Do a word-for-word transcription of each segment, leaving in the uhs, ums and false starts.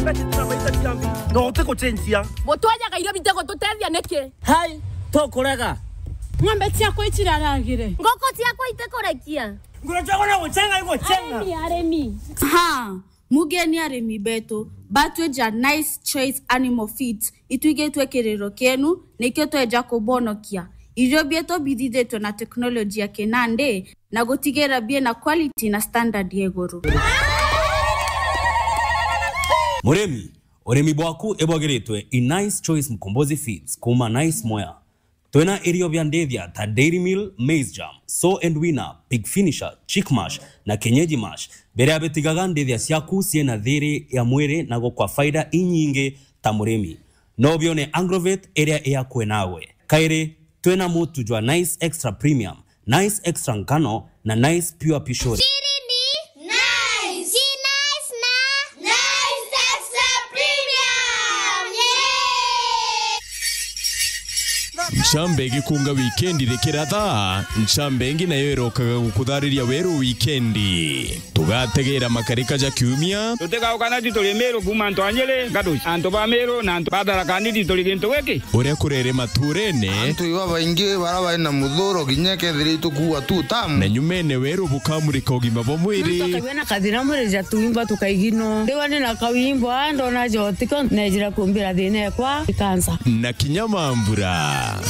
Mbeca cia maita cia mbi. No uti gucenjia. Mutwajaga irio bite gututethia niki? Hai, tukurega. Ng'ombe ciakwa iciraragire. Ngoko ciakwa itikurekia. Ngoro ciakwa no gucenga igucenga. Arimi, arimi. Ha, mugeni arimi betu, batwija Nice Choice Animal Feeds, itwigitwe kiriro kienu, nikio tweja kubonokia. Irio bietu bithithitwe na teknoloji ya kinandi, na gutigira biena quality na standard ya iguru. Murimi, urimi bwaku ibwagiritwe i Nice Choice Mkombozi Feeds kuma Nice Mwea. Twina irio bia ndithia ta Dairy Meal, Maize Germ, Sow and Weaner, Pig Finisher, Chick Mash na Kienyeji Mash, biria bitigaga ndithia ciaku ciina thiri ya mwiri na gukwa faida inyingi ta murimi. No bione Agrovet iria iakwe nawe. Kairi, twina mutu jwa Nice Extra Premium, Nice Extra Ngano na Nice Pure Pishori. Siri ni Nice. Ki Nice na Nice Extra Premium. Yay! Ncambe igikunga wikendi rikiratha, ncambe ingi nayo irokaga gukuthariria weru wikendi. Tugategera makarika ja kiumia. Tutigauka na tituri Miru kuuma antu a Nyeri, Ngatuci, antu ba Miru na antu ba Tharaka Nithi turi gintu giki. Uria kurere maturene. Antu iba baingi bara bari na muthuro kinya kethira itukuua tu tamu. Na nyumene weru bukamurika ugima bwa mwiri. Tukagua na kathina mwiri ja tuimba tukaigino. Ndiwa ni na kauimbo, ndona jotiko, nejira kumbira thina ekwa ikansa. Na kinya mambura.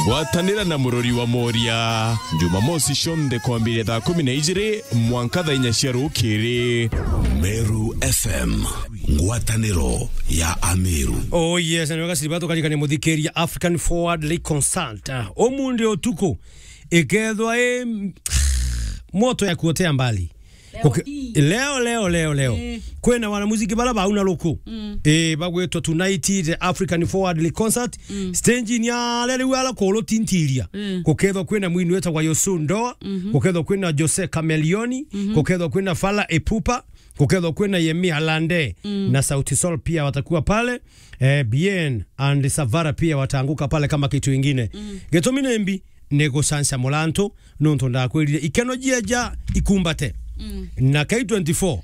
Gwatanira na murori wa Moria, Jumamosi cionthe kwambiria thaa kumi na ijiri mwanka thaa inya cia rukiri. Meru F M, ngwataniro ya Ameru. Oh yes, na wega siriba tukarikania muthikiria African Forward League Concert. Ah, umundi utuku, ikethwa i moto ya kuotea mbali. Leo Kuki-, ti. Leo, leo, leo, leo. Eh. Kwina wanamuziki bara bau na ruku. Mm. Eh, bagwitwa Tonight, the African Forward League Concert. Mm. Stage ni ya riu ala kulu tintiria. Mm. Gukethwa kwina mwini wetagwa Yosu Ndoa. Mhm. Gukethwa kwina Jose Chameleone. Mhm. Gukethwa kwina Fally Ipupa. Gukethwa kwina Yemi Alade. Mm. Na Sauti Sol pia watakuwa pale. Eh, Bien and Savara pia wataanguka pale kama kitu ingine. Mm. Gitumi ni mbi ni gucanca murantu, nontu ndakwirire ikeno jieja ikumbate. Mm. Na K twenty-four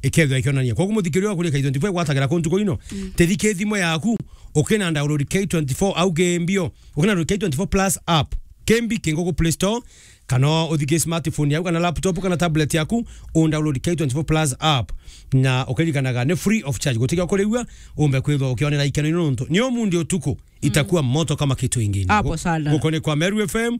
ikethwa ikionania. Koguo muthikiria wa kuria K twenty-four gwatagira ku ntuku ino. Mm. Tethike thimo yaku, ukina download K twenty-four au ke mbio, ukina download K twenty-four Plus app. Kembi kingo ku Play Store, kana uthike smartphone yaku, kana laptop, kana tablet yaku, u download K twenty-four Plus app. Na ukiririkanaga ni free of charge. Gutiga kurigua, umbe kwithwa ukionera ikeno ino nontu. Ni umundi utuku, itakuwa moto kama kitu ingine. Hapo sana. Guko ni kwa Meru F M,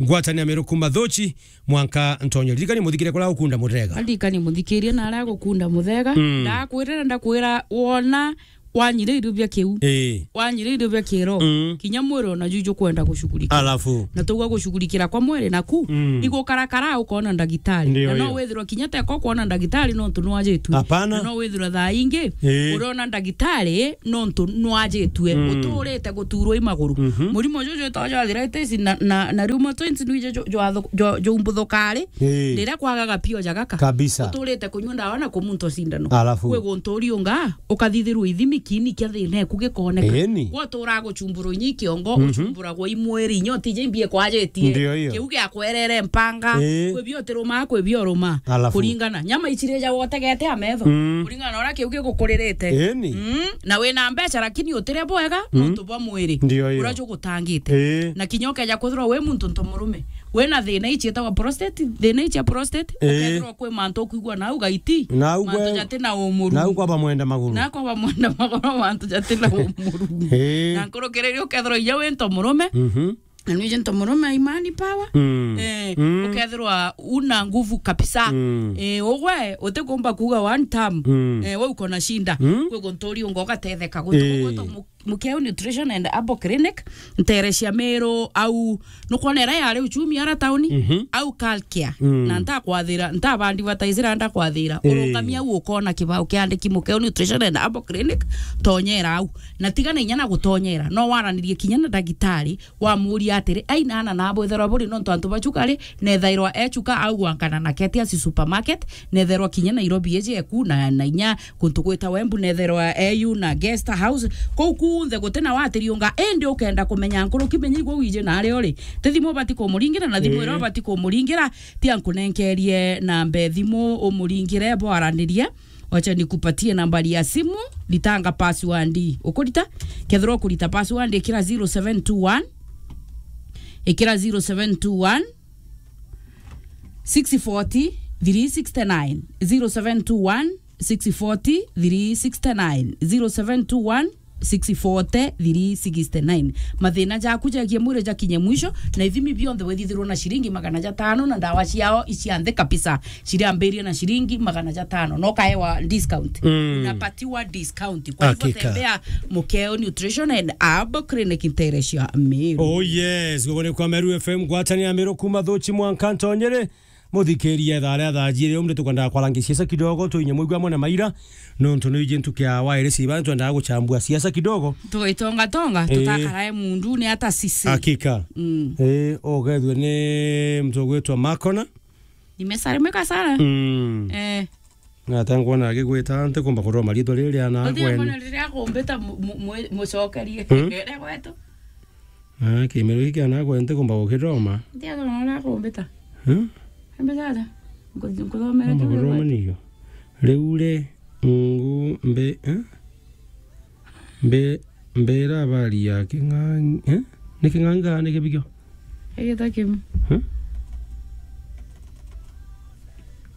ngwatanira Meru kuma Thochi, mwanka ntonyo. Ririkani muthikire kula ukunda muthega. Ririkani muthikirie na aria gukunda muthega. Mm. Ndakwirira, ndakwira wona wanyire irio bia kiu. Ii. Wanyire irio bia kiro. Mm. Kinya mwiri ona juju kwenda gushughulikia. Alafu. Na tuga gushughulikira kwa mwiri naku. Mm. Igukarakara ukona ndagitari. Ndio, na no hiyo. Withirwa kinya teko kwona ndagitari nontu nwajitwe. Hapana. Na no withirwa thaa ingi. Ii. Urona ndagitari nontu nwajitwe. Mm. Uturite guturwo i maguru. Mhm. Murimo juju witagwa arthritis na, na, na rheumatoid nwije ju-, jwathu-, ju-, jumbuthuka ri. Ii. Riria kwagaga pio ja gaka. Kabisa. Uturite kunywa ndawa na kumunto cindano. Alafu. Kwi guntu uriunga, ukathithirwa ithimi kiini kia thina eku gikoneka. Eni. Gwa utura gucumburwa inya i kiongo, mhm, ucumburagwa i mwiri, inya utije imbie kwajitie. Ndio hiyo. Kiu giakwerere mpanga. Ii. Kwi bio utirumaa, kwi bio urumaa. Alafu. Kuringana. Nyama icirija wotegete a metho. Mm. Kuringana na uria kiu gigukuririte. Eni. Mm. Na wina mbeca lakini utire bwega, mm, nontu bwa mwiri. Ndio hiyo. Uria jugutangite. Ii. Na kinya ukeja kwithirwa wi muntu nto murume. Wina thina ici itagwa prostate, thina ici ya prostate, ii, ukethirwa kwi mantu ukwigua nau gaiti, nau mantu gwe-, jati na umuru. Nau kwaba mwenda maguru. Na kwaba mwenda maguru, mantu jati na umuru. Ii. Na nkurukiriria ukethirwa inya wi nto murume, mhm, na nwiji nto murume imani power. Mm. Eh, mm, ukethirwa una nguvu kabisa. Mm. Eh, ugwe utikumba kuuga one time. Mm. Eh, we uko na shinda. Mm. Kwi guntu uriunga ugatetheka. Guntu, ii, kugwetwa mu-, Mukeo Nutrition and Herbal Clinic, nterecia Meru au, nukwona ira yari uchumi ara tauni, mhm, au Calcare. Mm. Na ntakwathira, ntabandi bataisira ndakwathira. Ii. Urungamia au ukona kibao kiandiki Mukeo Nutrition and Herbal Clinic, tonyera au. Na tigana inya na gutonyera, no waranirie kinya na ndagitari, wamuria atiri, "Ai, nana nabo itherwa buri nontu antu ba Chuka ri, nethairwa e Chuka au gwankana na Ketias Supermarket, netherwa kinya Nairobi eje eku na, na inya guntu gwitagwa Embu, netherwa e u na Guest House." Kuu ku unthe guti na watiriunga, indi ukenda kumenya nkuruki, menya igwe wiji na ari uri. Ti thimu ubati kumuringira, na thimu Ii. iria ubati kumuringira, tia nkunenkerie namba e thimu umuringire bwaranirie. Wacha nikupatie nambari ya simu, ritanga password. Ukurita? Kethira ukurita password, ikira zero seven two one, ikira zero seven two one, six forty, three sixty-nine, zero seven two one, six forty, three sixty-nine, zero seven two one, six forty, three sixty-nine. Mathina jaku ja kimwiri jakinye mwisho, na ithimi bionthe withithirwo na ciringi magana jatano, na ndawa ciao icianthe kabisa, ciriambiria na ciringi magana jatano, no kaewa discount. Mm. Unapatiwa discount. Kwa hivyo Hakika. tembea Mukeo Nutrition and Herbal Clinic ntere cia Meru. Oh yes, gugu ni kwa Meru F M, ngwataniro ya Meru kuma Thuchi mwanka Ntonyere. Muthikiria, thaa ria thaa jiiri, umri tukwendaga kwarangia siasa kidogo, tuinye mwigua mwana maira, nontu ni iji ntuku ya wairi ciba, twendaga guchambua siasa kidogo. Tugitonga tonga, Ii. tutakarae mundu ni ata sisi. Hakika. Mm. Ii, ugethwe ni mtu ugwitwa Makona. Nimesalimu kasala. Mm. Eh. Ngata nkwona agigwita, ntikumba kuroma riitwa riri ria na Uthia kwene. Mbona riria akumbita mu-, mu-, mu-, mucokerie. Hmm? Ria gwetu. Ah, kimero giki ana kwene ntikumba gukiroma. Ntia kona ria akumbita. Hmm? Ambita atia? Nku-, nkuthomere Amba tu ria kuroma gwetu. Niyo. Riu ri, ngu, mbi, eh? Mbe-, mbera habari ya king'ang'i, eh? Ni king'ang'i kana ni kibigio? Igita kimu. Eh?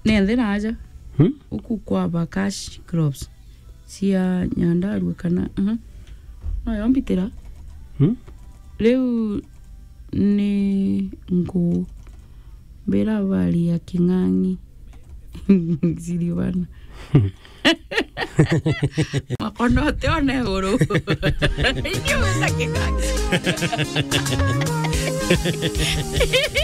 Ni nthi na aja. Hmm? Uku kwa ba cash crops. Cia Nyandarua kana, aha. No yo mbitira. Hmm? Riu ni ngu mbira habari ya king'ang'i. Siri bana. Makono te one iguru. Inyuĩ na king'ang'i.